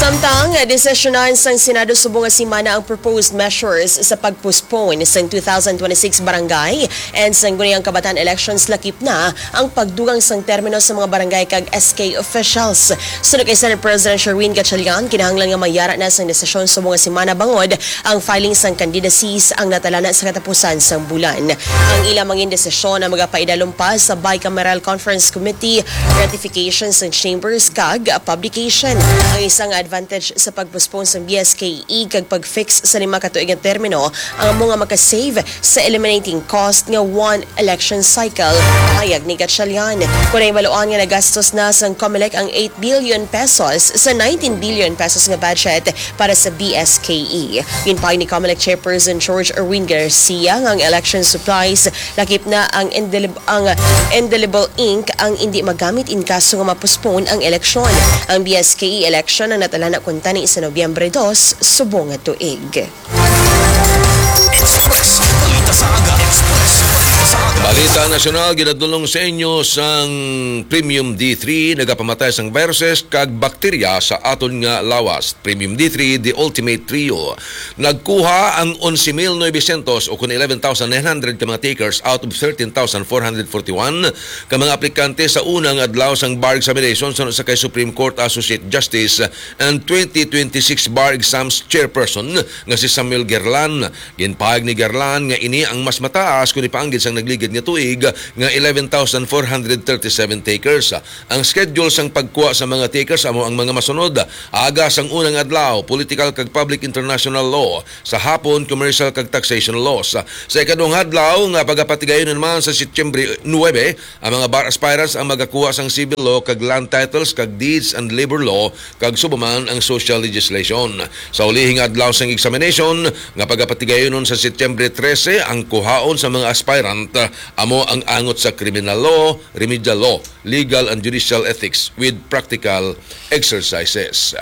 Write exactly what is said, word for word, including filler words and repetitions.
Samtang desisyonan sang Senado subong nga semana ang proposed measures sa pag-postpone sang two thousand twenty-six barangay and sangguniang kabataan elections, lakip na ang pagdugang sang termino sa mga barangay kag S K officials. Suno kay Senate President Sherwin Gatchalian, kinahanglan nga mayara na sang desisyon subong nga semana bangod ang filing sang candidacies ang natalana sa katapusan sang bulan. Ang ila mangin desisyon ang magapaidalom pa sa Bicameral Conference Committee, ratification sang chambers, kag publication. Ang isa nga advantage sa pag-postpone sang B S K E kag pag-fix sa lima ka tuig nga termino ang amo nga makasave sa eliminating cost nga one election cycle, pahayag ni Gatchalian. Kon nahibaluan nga nagastos na sang Comelec ang eight billion pesos sa nineteen billion pesos nga budget para sa B S K E. Ginpahayag ni Comelec Chairperson George Erwin Garcia nga ang election supplies, lakip na ang indelib-, ang indelible ink, ang indi magamit in kaso nga ma-postpone ang eleksyon. Ang B S K E election ang natalana kuntani sa Nobyembre dos subong nga tuig. Express. Balita sa Aga Express. Sa Aga. Balita nasyonal, ginadulong sa inyo sang Premium D three, nagapamatay sang viruses kag bakterya sa aton nga lawas. Premium D three, the ultimate trio. Nagkuha ang onse mil novecientos o kun eleven thousand nine hundred ka mga takers out of thirteen thousand four hundred forty-one ka mga aplikante sa una nga adlaw sang bar examination suno sa kay Supreme Court Associate Justice and twenty twenty-six bar exams chairperson nga si Samuel Gerlan. Ginpahayag ni Gerlan nga ini ang mas mataas kon ipaanggid sang nagligid nga tuig nga eleven thousand four hundred thirty-seven takers. Ang schedule sang pagkuha sa mga takers amo ang mga masunod: aga sang unang adlaw, political kag public international law; sa hapon, commercial kag taxation laws. Sa ikaduhang adlaw nga pagapatigayon naman sa Setyembre nuebe, ang mga bar aspirants ang magakuha sang civil law kag land titles kag deeds and labor law kag subaman ang social legislation. Sa ulihing adlaw sang examination nga pagapatigayonon sa Setyembre trese, ang kuhaon sa mga aspirant amo ang angot sa criminal law, remedial law, legal and judicial ethics with practical exercises.